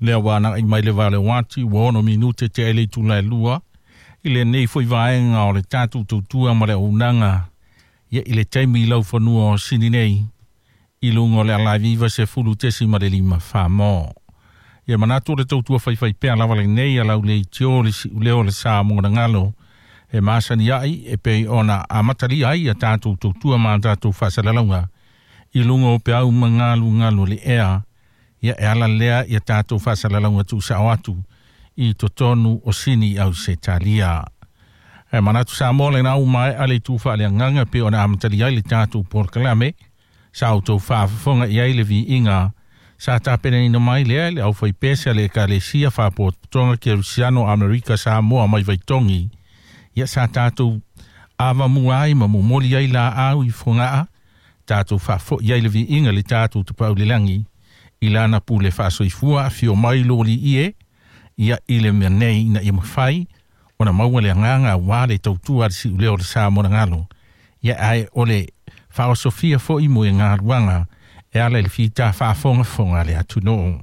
Lea ua aga'i mai le 8 ati ua 6 minute tea i le itula e 2 i lenei fo'i vaega o le tatou tautua ma le auaunaga ia i le taimi i laufanua o Sini nei i luga o le alaivi 90.5 Samoa. Ia manatu o le tautua faifaipea lava lenei a lau leitio le si'uleo o le sa mogagalo e masani ai e pei ona amatalia ai ia tatou tautua ma tatou faasalalauga i luga o peau ma galugalu le ea ia e ala lea ia tatou faasalalauga tuusao atu i totonu o Sini Ausetalia. E manatu Samoa lena ua maea le itu faaleagaga pe ona amatalia ai le tatou polokalame sa outou faafofoga i ai le viiga sa tapenaina mai lea le aufaipese a le Ekalesia Faapotopotoga Kerisiano Amerika Samoa mai Vaitogi. Ia sa tatou avamua ai ma momoli ai laau i Fogaa tatou faafo'i ai le viiga le tatou Tapaau i le lagi i lana pule faasoifua afio mai lo alii e ia i le mea nei ina ia mafai ona maua le agaga auā le tautua a le si'uleo o le sa monagalo ia ae o le faaosofia fo'i mo e galuaga e ala i le fita faafogafoga a le atunuu.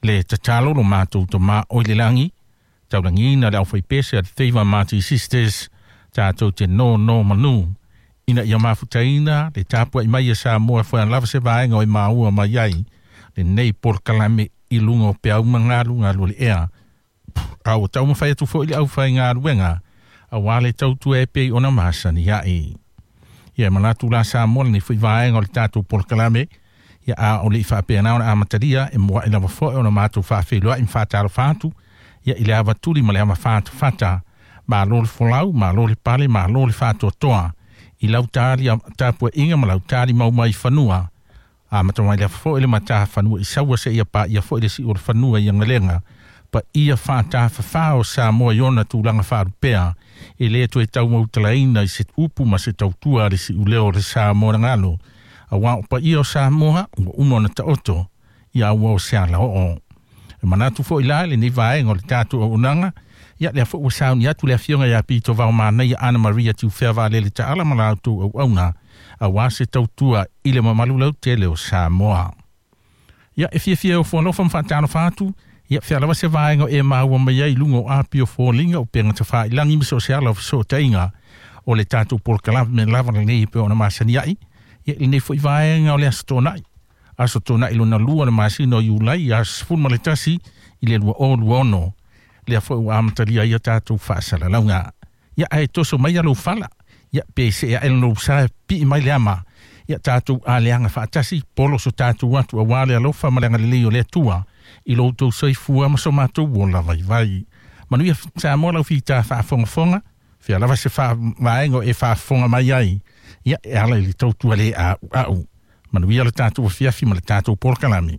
Le tatalo lo matou Tamā o i le lagi, taulagiina le aufaipese a le Favour Marty Sisters tatou te nono manu ina ia mafutaina le tapua'i mai a Samoa foe lava se vaega o e maua mai ai lenei polokalame i luga o peau ma galugalu o le ea. A ua taumafai atu fo'i le aufaigaluega auā le tautua e pei ona masani a'i. Ia manatu la Samoa lenei fo'i vaega o le tatou polokalame ia a o le i faapena ona amatalia e mua'i lava fo'i ona matou faafeiloa'i ma faatalofa atu ia i le avatuli ma le ava fatafata. Malo le folau, malo le pale, malo le faatoatoa i lau tali tapua'iga ma lau tali mau mai fanua. A mata mai lea fo'i le matafanua i saua seia paia fo'i le si'u o le fanua i agalega paia faatafafā o Samoa i ona tulaga faalupea e lē toe taumautalaina i se upu ma se tautua a le si'uleo o le Samoa nagalo auā o paia o Samoa ua uma ona taoto ia ua o se alaoo. E manatu fo'i la lenei vaega o le tatou auaunaga ia lea fo'i ua sauni atu le afioga iā Pito Vaomanaia Ana Maria Tiufea Valele Taala ma la outou auauna auā se tautua i le mamalu lautele o Samoa. Ia e fiafia e ofo alofa ma faatalofa atu ia fea lava se vaega o e maua mai ai i luga o api o foliga o pega tafāilagi ma so o se ala o fesootaiga o le tatou polokalame lava lenei e pei ona masani ai ia lenei fo'i vaega o le aso Tona'i, aso Tona'i lona lua o le masina o Iulai aso 11 i le 2026 lea fo'i ua amatalia ai ia tatou faasalalauga. Ia ae toso mai lou fala ia pe see aʻe lou sa pii mai le ama ia tatou aleaga faatasi polo so tatou atu auā le alofa ma le agalelei o le Atua i lo outou soifua ma so matou ola vaivai. Manuia Samoa lau fita faafogafoga fea lava se faavaega o e faafofoga mai ai ia e ala i le tautua lē a'ua'u. Manuia le tatou afiafi ma le tatou polokalame.